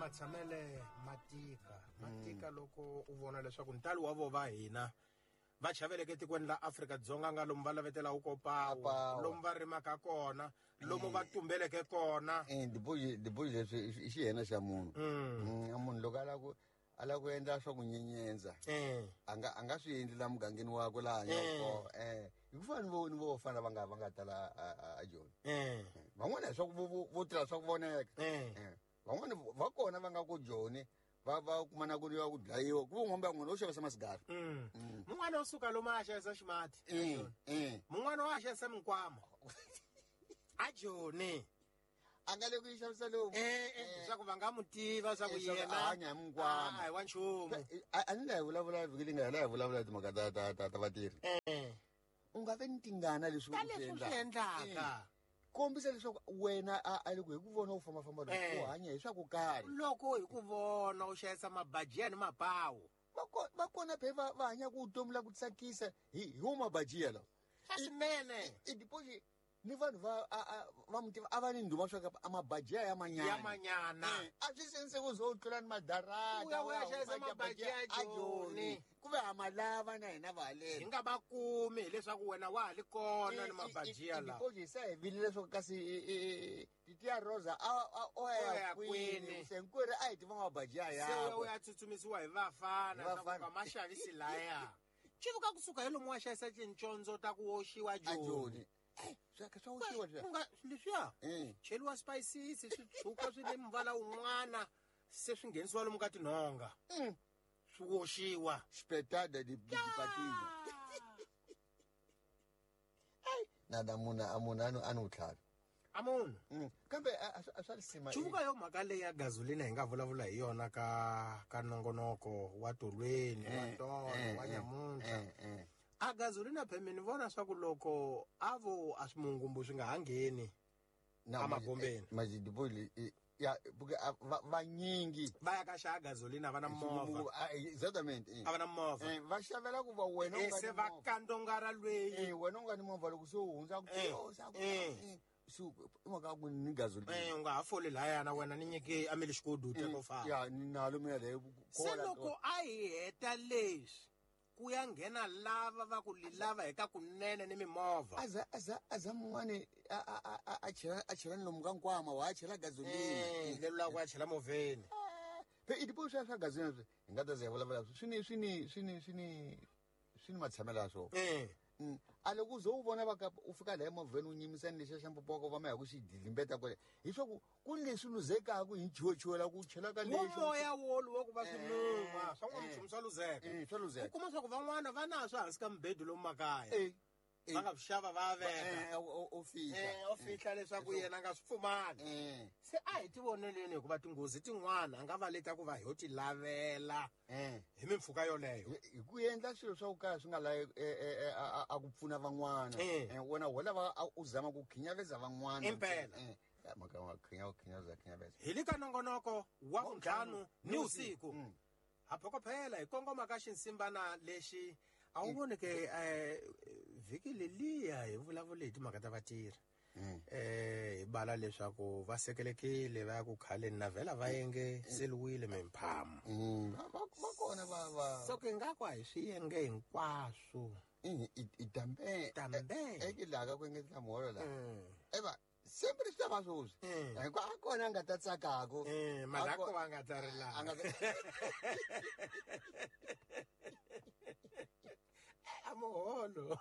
Matshamele ma tika, ma tika loko u vona leswaku ntalo wa vo va hina va chaveleke etikweni la Afrika-Dzonga nga lomu va lavetelaka ko pawu, Pawu. Lomu va rimaka kona, lomu va tumbeleke kona. Diboji leswi i xihena xa munhu. A munhu loko a lava ku endla swa ku nyenyentsa, a nga swi endli la mugangeni wakwe laha hanyaka kona. Hi ku fana ni vo fana va nga tala a Joni. Van'wana hi swa ku vo tirha swa ku voneka. Van'wana va kona va nga ku Joni, va kuma na ku ya ku dlayiwa. Ku van'wana va n'wina wo xavisa masigara. Mun'wana wo suka lomu a xavisa ximati. Mun'wana wa xavisa minkwama. A Joni. A nga le ku yi xavisa lomu. Leswaku va nga n'wi tiva swa ku Leswaku yena a hanya hi minkwama. A hi wa nchumu. A ni la hi vulavula vhiki leyi nga hela hi vulavula hi timhaka ta vatirhi. U nga vi ni tingana leswi Ta u swi leswi u swi endlaka. endlaka. Kombisa leswaku wena a loko hi ku vona u fambafamba loko u hanya hi swa ku karhi. Loko hi ku vona u xavisa mabajiya ni mapawu. Va kona phe va hanya ku vutomi la ku tsakisa hi wo mabajiya lawa. Swa swinene. I deposit ni vanhu va muti a va ni ndhuma swa ka a mabajiya ya manyana. Ya manyana. A swi sense ku zo tlula ni madarata, U ya u ya u ya xavisa huma mabajiya ya a Joni. Joni. Ku ve ha ma lava na hina va haleni. Hi nga va kumi hileswaku wena wa ha li kona ni mabajiya lawa. Deposit se hi vilile leswaku kasi Titiya Rosa o ya O ya kwini? kwini? Se hinkwerhu a hi tiva mabajiya Se u ya u yakwe. ya tsutsumisiwa hi vafana Hi leswaku vafana. va ma xavisi laya. Xivuka kusuka hi lomu wa xavisa tincondzo ta ku oxiwa A Joni. Joni. Swa ka swa oxiwa leswiya. Ku nga leswiya? Cheliwa spices, swi tshuka swi ni muvala wun'wana, se swi nghenisiwa lomu ka tinhonga. Swi oxiwa. Spetada di patina. Ai, nada munhu, a munhu a ni wu tlhavi. A munhu. Kambe a swa risima. Chuvuka yo mhaka leyi ya gasolina hi nga vulavula hi yona ka nongonoko wa tolweni, wa tolo, wa nyamuntlha. A gasolina pheme ni vona swa ku loko a vo a swimungumbu swi nga ha ngheni Na, a magombeni. Majidiboli, ya, buke, a, va, vanyingi. Va ya ka xava gasolina, va na Hi movha. xilungu, a, exactamente, A va na movha. Va xavela ku va wena u nga Se ni va movha. kandongara lweyi. Wena u nga ni movha loko se u hundza ku yo, sa ku, se u, i mhaka ya ku ni gasolina. U nga ha foli lahaya na wena ni nyike a mi le xikodu u teka u famba. Ya, ni nalo mina leyo ku Se kola loko to. a hi heta leswi, ku ya nghena lava va ku li lava hi ka kunene ni mimovha. Aza, aza, aza mun'wani, a, a, a, a, a chela, a chela ni lomu ka nkwama, wa chela gasolina. Lero la ku ya chela movheni. Phe i tipo swa swa gasolina swi, hi nga ta ze hi vulavula swi ni, swi ni, swi ni, swi ni, swi ni matshamelo ya swona. A loko u ze u vona va ka, u fika laha emovheni u nyimisa ni lexiya xa mpopo wa ka va ma ya ku xi dlimbeta kwale. Hi swa ku, ku ni leswi luzekaka hi nchuwuchuwela ku chela ka Wo lexi. moya wolowo wa ku va swi numa, swa n'wana nchumu swa luzeka. Swa luzeka. U kuma swa ku van'wana va na swa hansi ka mubedwa lomu makaya. Va nga swi xava va veka. O fihla. O fihla leswaku yena a nga swi pfumali. Se a hi tivoneleni hikuva tinghozi tin'wana a nga va leta ku va hi yo ti lavela. Hi mimpfhuka yoleyo. Hi ku endla swilo swa ku kala swi nga lavi, a ku pfuna van'wana. Wena ho lava a u zama ku khinyaveza van'wana. Impela. Ya, mhaka ya khinya, khinyaveza, khinyaveza. Hi le ka nongonoko wa vuntlhanu ni usiku. Ha phokophela hi kongoma ka xinsimbana lexi a wu voni ke, vhiki leliya hi vulavule hi timhaka ta vatirhi. Hi bala leswaku va sekelekile va ya ku khaleni na vhela va yenge seliwile mimphamu. Va kona va, va. So ke nga ku a hi swi yenge hinkwaswo. I tambe. Tambe. Ke laha ka ku engetela muholo laha. Eva, sempre swi ta va sweswi. Hikuva a kona a nga ta tsakako. Mara A ko- ko a nga ta ri laha. A nga ta- A muholo.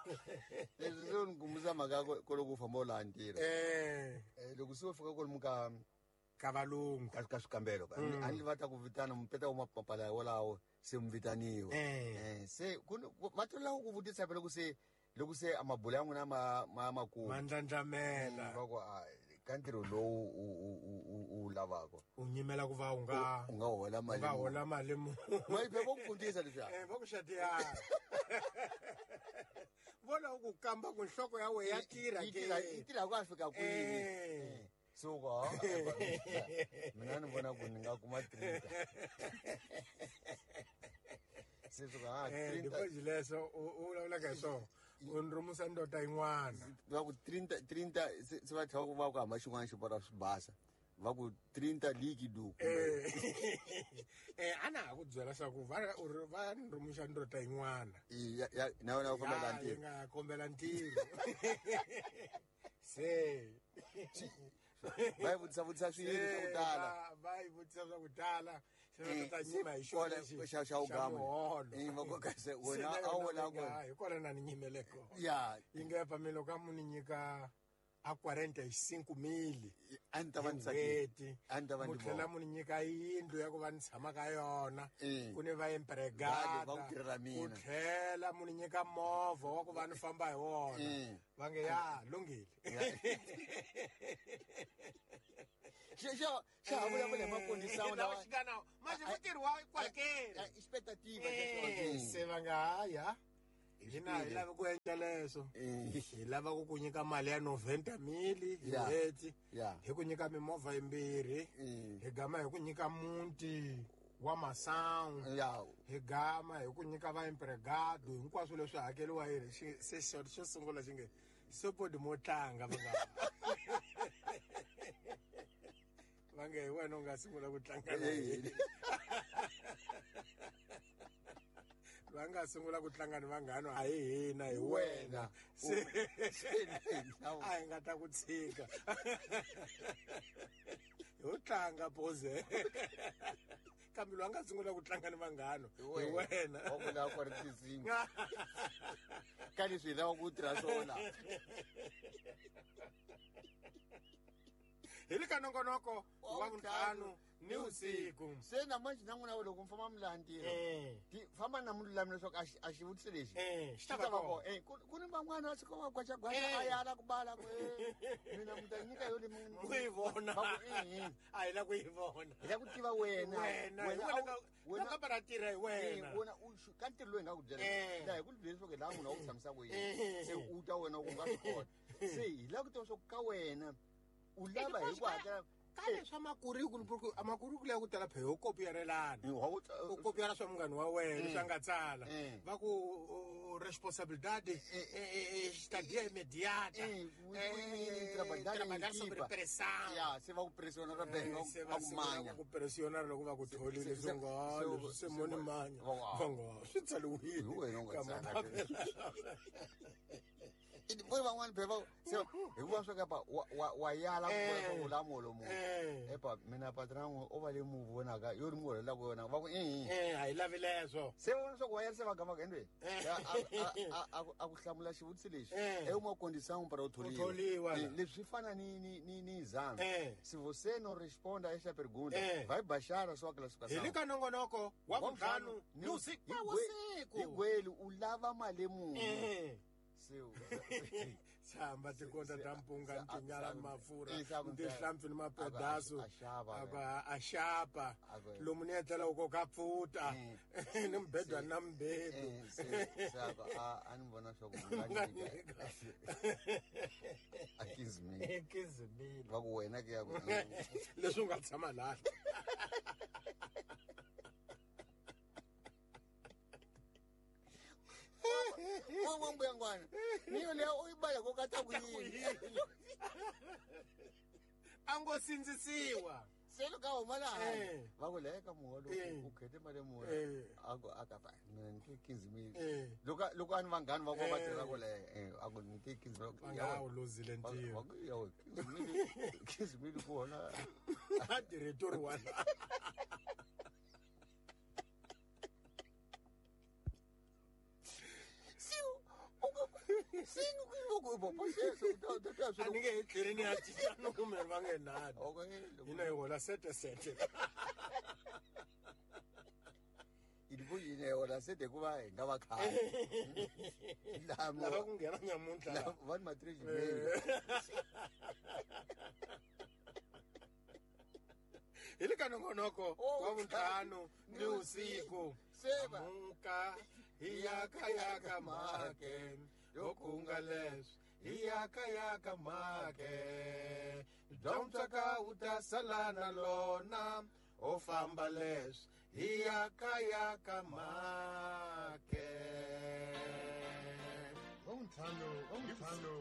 Leswi swi ni kumbuza mhaka ya ku loko u famba u laha ntirho. Loko se u fika kwalomu ka Ka valungu. Ka swikambelo, a ni va ta ku vitana mupeta wa mapapala wolawo se mi vitaniwa. Se ku ni, ku, va tola ku vutisa phela loko se a mabula ya n'wina ma kulu. Ma ndlandlamela. Va ku, a, ka ntirho lowu u lavaka. U nyimela ku va u nga U nga hola mali U nga muni. hola mali muni. Mali phela vo ku fundisa leswiya. Va ku xatiyana. Vona u ku kamba ku nhloko ya wena ya tirha ke. Yi tirha ku a fika kwini. So ku, ha, mina ni vona ku ni nga kuma 30. Se swi ku, ha, 30. Deposit leswo u vulavulaka hi swona. U ni rhumisa ndota yin'wana. Va ku 30, 30, se va tlhela va ku hamba xin'wana xi vona swi basa. Va ku 30 líquido. A na ha ku byela swa ku va uri va ni rhumuxa ndota yin'wana. Ya na wena u kombela Ya, yi ntirho. nga kombela ntirho. Se Va yi vutisa vutisa swilo swa ku tala. Va yi vutisa swa ku tala. Se va ta Eh, nyima hi xona kona lexi xa ugama. muholo. Eh, va ku kasi Se wena na a wu yona la va nga, ku- hi kona na ni nyimele kona. Ya. Yi nga pa mina loko a mu ni nyika a 45 mil. A ni ta va ni tsakile. N'hweti. A ni ta va Mu ni tlhela vona. mu ni nyika yindlu ya ku va ni tshama ka yona. Eh. Ku ni va empregada. Va ku tirhela mina. Ku tlhela mu ni nyika movha wa ku va ni famba hi wona. Eh. Va nge ya lunghile. Xa ha vulavula hi makondisano Lawa lawa. xi nga na manje mutirhi wa kwalekeni. Expectativa Eh, se va nga haya. Hina hi lava ku endla leswo. Hi lava ku ku nyika mali ya 90 mil hi Ya. n'hweti. Ya. Hi ku nyika mimovha yimbirhi. Hi gama hi ku nyika muti wa masangu. Ya. Hi gama hi ku nyika va empregado hinkwaswo leswi hakeriwa hi se xo sungula xi nge sopodi mo tlanga va nga. Va nge hi wena u nga sungula ku tlanga na hina. Va nga sungula ku tlanga ni vanghana a hi hina hi wena. Se a hi nga ta ku tshika. Ho tlanga pose. Kambe loyi a nga sungula ku tlanga ni vanghana hi wena. Wa ku lava ku ri tinsimu. Ka leswi hi lava ku tirha swona. Hi le ka nongonoko wa vuntlhanu ni vusiku. Se na manje na n'wina loko mi famba mi laha ntirho. Famba na mululami leswaku a xivutiso lexi. Xi Xi ta ta va va kona. kona. Ku ni van'wana va suka va gwaxagwaxa, a yala ku bala ku, mina mi ta nyika yo le mi- Mu yi vona. Va ku, eh, eh. A hi la ku yi vona. Hi la ku tiva wena. Wena, hi Wena wena a wu- ka- wena- na ka va tirha hi wena. Wena u ka ntirho lowu hi nga ku byela. Laha hi ku byela leswaku hi laha munhu a ku tshamisa ku yini. Se u ta wena u nga swi kota. Se hi lava ku tiva leswaku ka wena u lava hi ku hakela. Ka leswa makurikulu ya ku tala phe ho kopiyarelana. Wa ku tsa- U kopiyara swa munghana wa wena leswi a nga tsala. Va ku responsabilidade estadia imediata. Trabalhar Trabalhar sobre equipa. pressão. Ya, se va ku pressiona ra beng, Se va va ku sungula manya. ku pressiona loko va ku tholile Se- swi nga leswi se mo ni manya. Va nga swi tsariwile. Hi wena u nga Ka tsala. mapapila. Vo van'wani phela va se hikuva swa kapa wa yala ku vona swa ku la muholo munhu. Epa mina patron o va le mu vonaka yo ri muholo la ku yona va ku eh. A hi lavi leswo. Se vona swa ku wa yala se va gama ku endwe. A ku hlamula xivutiso lexi. É uma condição para o tholiwa. O tholiwa, la. Leswi swi fana ni exame. Se você não responde a esta pergunta, vai baixar a sua classificação. Hi le ka nongonoko wa vuntlhanu ni usiku. Wa vusiku. Hi gwelu u lava mali muni. Se Tshamba tikonta ta mpunga se- tinyala se- mafurha se- se- tihlampfi ni mapedaso a xava, a ku a xapa A ku- lomu ni etlela u koka pfuta ni mubedwa na mubedo Se a ku, a ni vona swa ku mi nga nyika. A 15 mil. 15 mil. Va ku wena ke ya ku, Leswi u nga tshama laha. Wa mbuyangwana. Ni yo leya u yi bala ko ka ta ku yini? A ngo sindzisiwa. Se loko a huma laha, va ku leya ka muholo u khete mali muni? A ku, a ka pa, mina ni te 15 mil. Loko a ni vanghani va ku va tirha ku leya, a ku ni te 15 mil. Va nga wu luzile ntirho. Va ku, ya we, 15 mil, 15 mil ku hola. A diretori wa la. A ni nge he tlheli ni ya cinca numero va nge nani. Hina hi hola sete sete. Yini hi hola sete hikuva hi nga va khale. Lava ku nghena nyamuntlha la. Va ni matric mail. Hi le ka nongonoko wa vuntlhanu ni usiku. Seba. Amuka hi yaka yaka make yo kunga leswi hi yaka yaka make bya mutswaka wu ta sala na lona ho famba leswi hi yaka yaka make. Wa vuntlhanu, wa vuntlhanu.